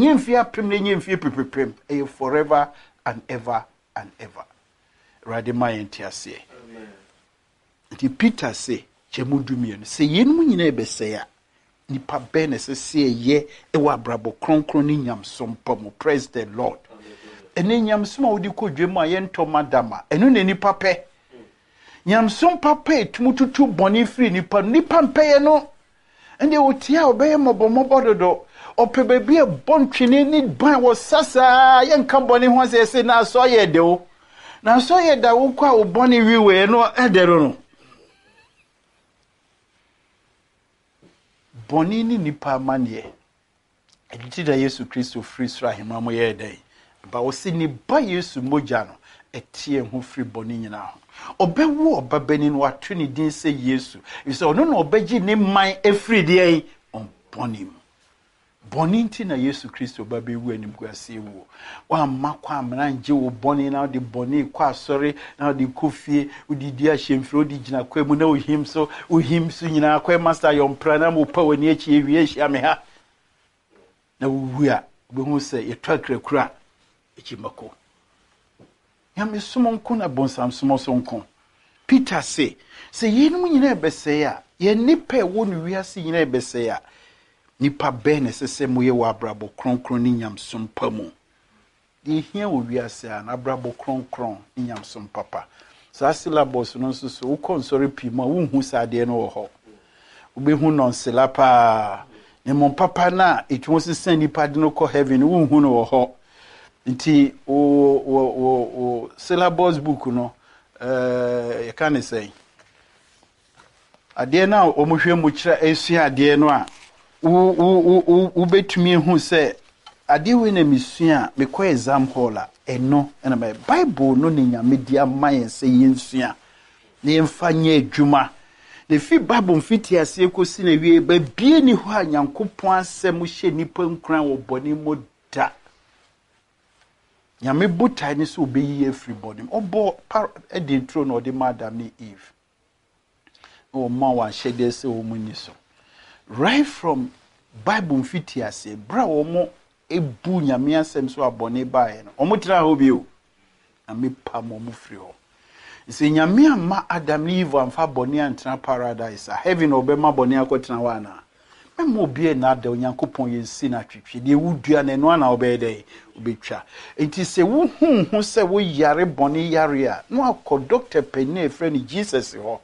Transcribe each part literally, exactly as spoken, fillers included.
Ɛnyɛ mfie apem na ɛnyɛ mfie pepepem, ɛyɛ forever and ever and ever. Awurade ma yɛn te aseɛ. Nti Peter se, kyɛ mu du mmienu, sɛ yɛnum nyinaa ɛbɛsɛe a, nipa bɛn na ɛsɛ sɛ ɛyɛ ɛwɔ abrabɔ kronkron ne nyamsom pa mu? Praise the Lord. Ɛne nyamsom a wode kɔ dwam a yɛntɔ madama, ɛno na nipa pɛ. Nyamsom papa etum tutu bɔne firi nipa no, nipa mpɛyɛ no. Ɛnde otie a, ɔbɛyɛ mmɔbɔmmɔbɔ dodo. Ɔpɛ baabi a ɛbɔ ntwene ne ban wɔ sasaa, yɛnka bɔne ho asɛ sɛ na asɔ yɛ de o, na asɔ yɛ da. Wokɔ a, wo bɔne wiwee no ɛdɛ no no Bɔne ne nipa amanneɛ. Ɛno nti da Yesu Kristo firi soro ahemma mu yɛɛ dɛn ba? Ɔsi ne ba Yesu mogya no ɛteɛ ho firi bɔne nyinaa ho. Ɔbɛwo ɔba no, wato ne din sɛ Yesu, efisɛ ɔno na ɔbɛgye ne man efiri deɛ ɔbɔne mu. Bɔne nti na Yesu Kristo ba bɛwu animguaseɛ wuo. Wamma kɔ amena ngye wo bɔne na wode bɔne kɔ asɔre, na wode kɔ fie, wode di ahyɛmfiri, wode gyina kwa mu na wohim so, wohim so nyinaa kɔ master yɔmpra na wopa w'ani akyi awie ahyia me ha na wowu a, wobɛhu sɛ yɛtɔ akrakura akyi mako. Nyamesom nko na bɔnsamsom so nko. Peter se, sɛ yɛnom nyinaa ɛbɛsɛe a, yɛn nipa ɛwɔ no wiase nyinaa ɛbɛsɛe a, nipa bɛn na ɛsɛ sɛ moyɛ wɔ abrabɔ kronkron ne nyamsom pa mu? Deɛ ehia wɔ wiase a na abrabɔ kronkron ne nyamsom papa. Saa syllabus no nso so, wokɔ nsɔre pii mu a, wonhu saa adeɛ no wɔ hɔ. Wobɛhu nɔnsela paa, na mmom papa no a ɛtumi sesa nipa de no kɔ heaven, wonhu no wɔ hɔ. Nti wo wo wo wo syllabus book no, ɛɛ yɛka ne sɛn, adeɛ no a wɔhwɛ mu kyerɛ esua adeɛ no a, wo wo wo wobɛtumi ehu sɛ adeɛ wei na mesua a mekɔ exam hall a, ɛno ɛna mɛ Bible no ne Nyame di ama yɛn sɛ yɛnsua na yɛmfa nyɛ adwuma. Na efi Bible mfiti aseɛ kɔsi na wie, baabie ni hɔ a Nyankopɔn asɛm hyɛ nipa nkuran wɔ bɔne mu da. Nyame botae ne sɛ ɔbɛyi afiri bɔne mu. Ɔbɔ par ɛde nturo na ɔde ma Adam ne Eve na ɔma wɔn ahyɛdeɛ sɛ wɔn ni so. Right from Bible mfiti aseɛ, berɛ a wɔn ebu Nyame asɛm so abɔne baeɛ no, wɔn tena hɔ bio, Nyame pam wɔn firi hɔ. Sɛ Nyame amma Adam ne Eve amfa bɔne antena paradise a, heaven na ɔbɛma bɔne akɔtena hɔ anaa? Mɛma obi na ada Onyankopɔn yɛnsi no atwetwe. Deɛ wodua no, ɛno ana wobɛyɛ dɛn wobɛtwa. Nti sɛ wohu ho sɛ woyare bɔne yare a, na wakɔ doctor panin a ɛfrɛ no Jesus hɔ.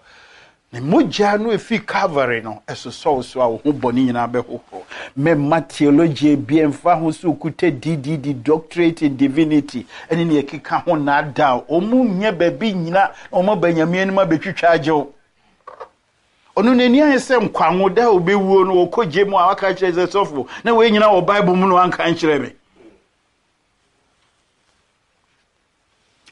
Ne mogya no ɛfiri Calvary no ɛsosɔ wo so a, wo ho bɔne nyinaa bɛhohoro. Mɛma theology bi ɛmfa ho sɛ okuta D D D, doctorate in divinity, ɛne ne ɛkeka ho naadaa. Ɔmu nyɛ baabi nyina na ɔma ba Nyame anim abɛtwitwa agye wo. Ɔno n'ani ayɛ sɛ nkwanwo da a obɛwuo no, wɔkɔ gye mu a, waka kyerɛ sɛ, "Sɔfo, na wei nyina wɔ Bible mu no, wanka nkyerɛ me."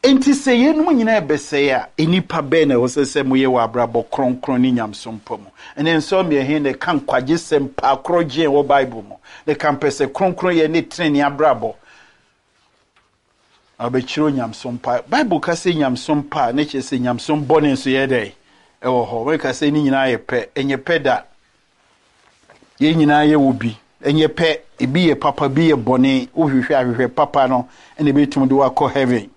Enti sɛ yɛnum nyinaa ɛbɛsɛe a, nnipa bɛn na ɛwɔ sɛ sɛ moyɛ wɔ abrabɔ kronkron ne nyamsom pa mu? Ɛnɛ nsɔ mmiɛhe na ɛka nkwagye sɛm paa korɔgye wɔ Bible mu na ɛka mpɛ sɛ kronkron yɛ ne tenene abrabɔ na ɔbɛkyerɛ nyamsom pa. Bible ka sɛ nyamsom pa a, ne kyerɛ sɛ nyamsom bɔne nso yɛ dɛn ɛwɔ hɔ. Wɔka sɛ ne nyinaa yɛ pɛ, ɛnyɛ pɛ da. Yɛn nyinaa yɛ wɔ bi, ɛnyɛ pɛ. Ebi yɛ papa, bi yɛ bɔne. Wohwehwɛ ahwehwɛ papa no, ɛna ebɛtumi de wakɔ heaven.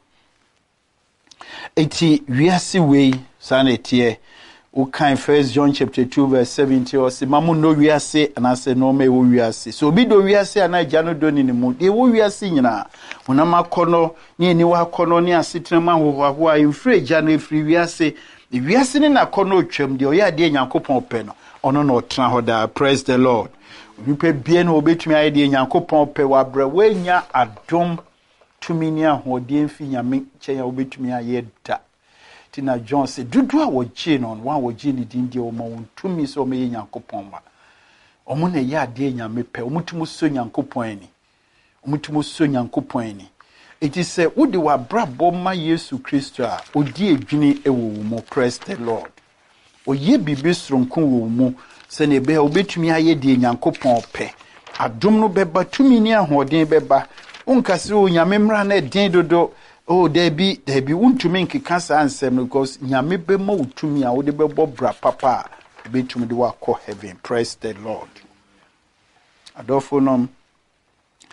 Eti wiase wei saa na ɛteɛ. Wokan First John chapter two verse seventeen, ɔsi ma mo nnɔ wiase anaasɛ nneɛma ɛwɔ wiase. So obi dɔ wiase anaa Agya no dɔ ne ne mu. Deɛ ɛwɔ wiase nyinaa, honam akɔnɔ ne aniwa akɔnɔ ne asetena mu ahohoahoa, mfiri Agya no, efiri wiase. Wiase ne n'akɔnɔ otwam. Deɛ ɔyɛ adeɛ Nyankopɔn pɛ no, ɔno na ɔtena hɔ daa. Praise the Lord. Onipa bie na obetumi ayɛ deɛ Nyankopɔn pɛ wɔ abrɛ woanya adom, tumi ne ahoɔden fi Nyame nkyɛn a wobɛtumi ayɛ da. Nti na John sɛ dodoɔ a wɔgyee no no wɔn a wɔgyee ne din deɛ, wɔma wɔn tumi sɛ wɔmɛyɛ Nyankopɔn ma. Ɔmo na ɛyɛ adeɛ Nyame pɛ, ɔmo tumi sɔ Nyankopɔn ani, ɔmo tumi sɔ Nyankopɔn ani. Eti sɛ wode w'abrabɔ ma Yesu Kristo a, odi edwini wɔ wo mu. Praise the Lord. Ɔyɛ biribi soronko wɔ wo mu sɛnea ɛbɛyɛ a wobɛtumi ayɛ deɛ Nyankopɔn pɛ. Adom no bɛba, tumi ne ahoɔden bɛba. Wonka sɛ o, Nyame mmara no ɛden dodo o. Daabi, daabi, wontumi nkeka saa nsɛm no, because Nyame bɛma wo tumi a wode bɛbɔ bra papa a ɛbɛtumi de wakɔ heaven. Praise the Lord. Adɔfo nom,